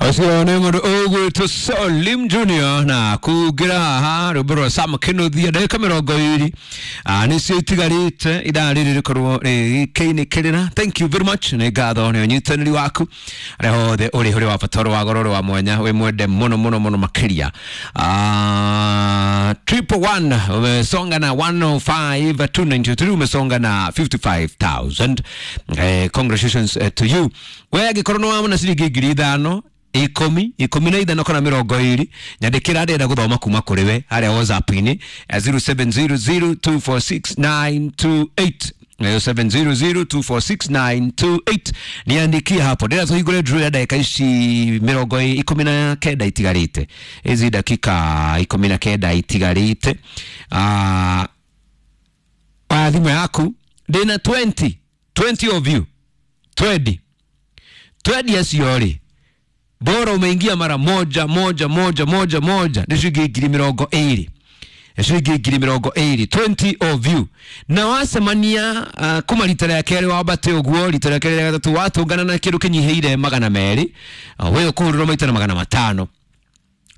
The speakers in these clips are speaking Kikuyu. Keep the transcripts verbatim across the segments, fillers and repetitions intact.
Ũcio nĩ mũndũ ũgwĩtwo Salim Junior na kungĩra haha rwĩmbo rwa Sam Kĩnuthia. Ndagĩka mĩrongo ĩrĩ nĩcio itigarĩte ithaa rĩrĩ rĩkorwo rĩkĩinĩkĩrĩra. Thank you very much, nĩ ngatho nĩ ũnyitanĩri waku harĩa hothe ũrĩ, ũrĩ wa bata, ũrĩ wa goro, ũrĩ wa mwanya, wĩ mwende mũno mũno mũno makĩria. Ah, triple one umesonga na one oh five two ninety-three, umesonga na fifty-five thousand. Eh, congratulations eh, to you. We angĩkorwo nĩ wamona ciringi ngiri ithano, ikũmi, ikũmi na ithano kana mĩrongo ĩrĩ, nyandĩkĩra, ndĩrenda gũthoma kuma kũrĩ we harĩa WhatsApp-inĩ zero seven zero zero two four six nine two eight, zero seven zero zero two four six nine two eight. Niandikie hapo, ndĩrenda tũhingũre draw ya ndagĩka ici mĩrongo ikũmi na kenda itigarĩte, ici dakika ikũmi na kenda itigarĩte. Ah, oya thimũ yaku, ndĩna twenty twenty of you, twenty twenty acio rĩ, bora umeingia mara moja moja moja moja moja, nĩ ciringi ngiri mĩrongo ĩrĩ, ciringi ngiri mĩrongo ĩrĩ, twenty of you. Na wacemania uh, kuma rita rĩa kerĩ wambate ũguo, rita rĩa kerĩ, rĩa gatatũ, watũngana na kĩndũ kĩnyihĩire magana merĩ, uh, we ũkũhũrĩrwo maita na magana matano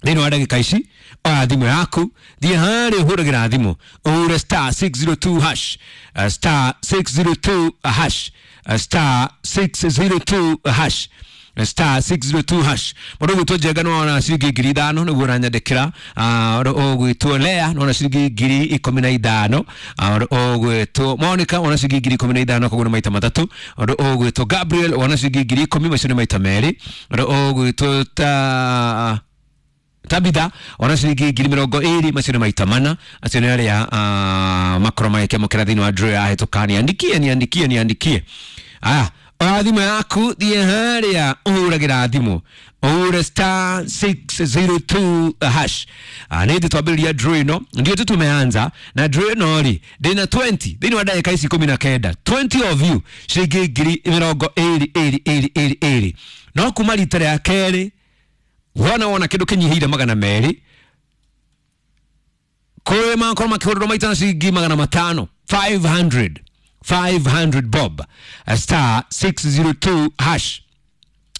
thĩinĩ wa ndagĩka ici. Oya thimũ yaku, thiĩ harĩa ũhũragĩra thimũ, ũhure star six zero two hash, uh, star six zero two hash, uh, star six zero two hash, star six zero two hash. Mũndũ ũgwĩtwo Njenga nĩwona ciringi ngiri ithano nĩguo ũranyandĩkĩra. Ũndũ ũgwĩtwo Lea nĩwona ciringi ngiri ikũmi na ithano. Ũndũ ũgwĩtwo Monica wona ciringi ngiri ikũmi na ithano, koguo nĩ maita matatũ. Ũndũ ũgwĩtwo Gabriel wona ciringi ngiri ikũmi, macio nĩ maita merĩ. Ũndũ ũgwĩtwo ta Tabitha ona ciringi ngiri mĩrongo ĩrĩ, macio nĩ maita mana. Acio nĩ arĩa uh, makorwo magĩkĩamũkĩra thĩinĩ wa draw yahĩtũka. Niandikie, niandikie, niandikie. Aya, oya thimũ yaku, thiĩ harĩa ũhũragĩra thimũ, ũhure star six zero two hash. Ah, nĩ thĩ twambĩrĩria draw ĩno, ndio tu tumeanza na draw ĩno rĩ, ndĩna twenty thĩinĩ wa ndagĩka ici ikũmi na kenda, twenty of you, ciringi ngiri mĩrongo ĩrĩ ĩrĩ ĩrĩ ĩrĩ ĩrĩ. No kuma rita rĩa kerĩ wona wona kĩndũ kĩnyihĩire magana merĩ, kũrĩ makorwo makĩhũrĩrwo maita na ciringi magana matano, five hundred, five hundred bob. A star six zero two hash.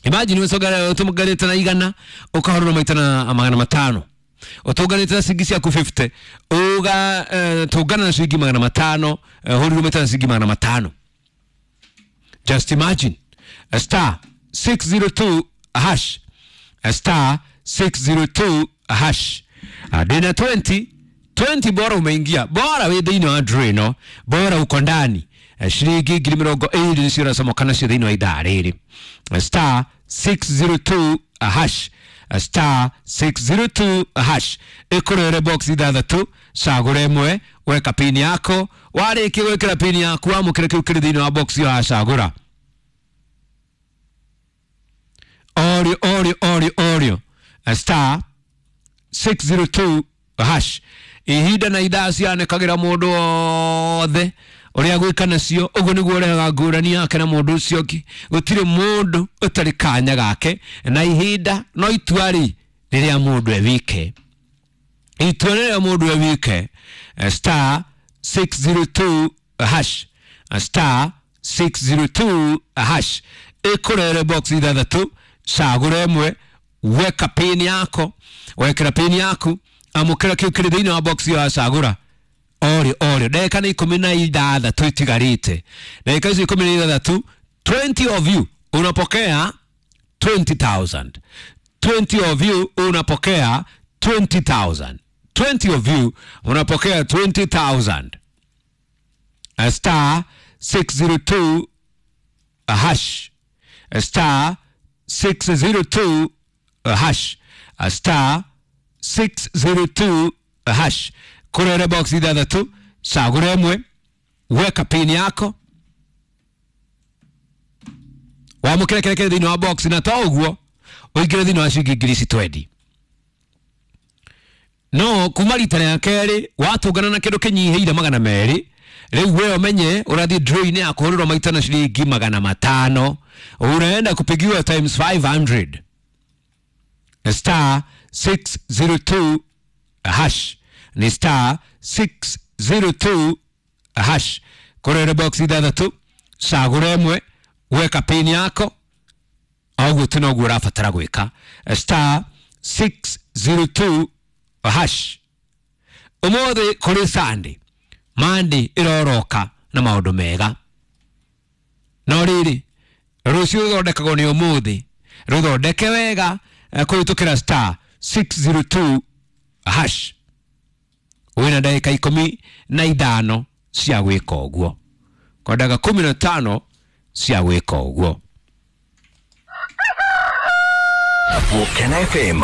Imagine ũtũnganĩte na igana, ũkahũrĩrwo maita na magana matano. Ũtũnganĩte na ciringi ciaku fifty, ũga uh, tũngana na ciringi magana matano, hũrĩrwo maita na ciringi magana matano. Just imagine. A star six zero two hash, a star six zero two hash. Ndĩna twenty twenty, bora umeingia, bora wĩ thĩinĩ wa draw ĩno, bora uko ndani. Ciringi ngiri mĩrongo ĩrĩ nĩcio ũracomoka nacio thĩinĩ wa ithaa rĩrĩ. star six zero two hash, star six zero two hash, ĩkũrere box ithathatũ, cagũra ĩmwe, weka pin yako. Warĩkia gwĩkĩra pin yaku, wamũkĩra kĩu kĩrĩ thĩinĩ wa box ĩyo wacagũra. Orio, orio, orio, orio, star six zero two hash. Ihinda na ithaa cianĩkagĩra mũndũ wothe ũrĩa gwĩka nacio, ũguo nĩguo ũrehaga ngũrani yake na mũndũ ũcio ũngĩ. Gũtirĩ mũndũ ũtarĩ kanya gake na ihinda, no itua rĩ rĩrĩa mũndũ e wike, itua rĩrĩa mũndũ e wike. star six zero two hash, star six zero two hash, ĩkũrere box ithathatũ, cagũra ĩmwe, weka pin yako. Wekĩra pin yaku, amũkĩra kĩu kĩrĩ thĩinĩ wa box ĩyo wacagũra. Orio, orio, ndagĩka nĩ ikũmi na ithathatũ itigarĩte. Ndagĩka icio ikũmi na ithathatũ, twenty of you unapokea twenty thousand, twenty of you unapokea twenty thousand, twenty of you unapokea twenty thousand. A star six zero two hash, a star six zero two hash, a star six zero two hash, kũrere box ithathatũ, cagũra ĩmwe, weka pin yako, wamũkĩre kĩrĩa kĩrĩ thĩinĩ wa box, na to ũguo ũingĩre thĩinĩ wa ciringi ngiri ici twenty. No kuma rita rĩa kerĩ watũngana na kĩndũ kĩnyihĩire magana merĩ, rĩu we ũmenye ũrathiĩ draw-inĩ ya kũhũrĩrwo maita na ciringi magana matano, unaenda kupigiwa times five hundred. star six zero two hash, ni star six zero two hash, kũrere box ithathatũ, cagũra ĩmwe, weka pin yako. Oguo tu noguo ũrabatara gwĩka, star six zero two hash. Ũmũthĩ kũrĩ Sunday, Monday ĩroroka na maũndũ mega, no rĩrĩ rũciũ rũthondekagwo nĩ ũmũthĩ. Rũthondeke wega eh, kũhĩtũkĩra star six zero two hash. Wĩna ndagĩka ikũmi na ithano cia gwĩka ũguo, kwa ndagĩka kumi na tano cia gwĩka ũguo. Volcano F M.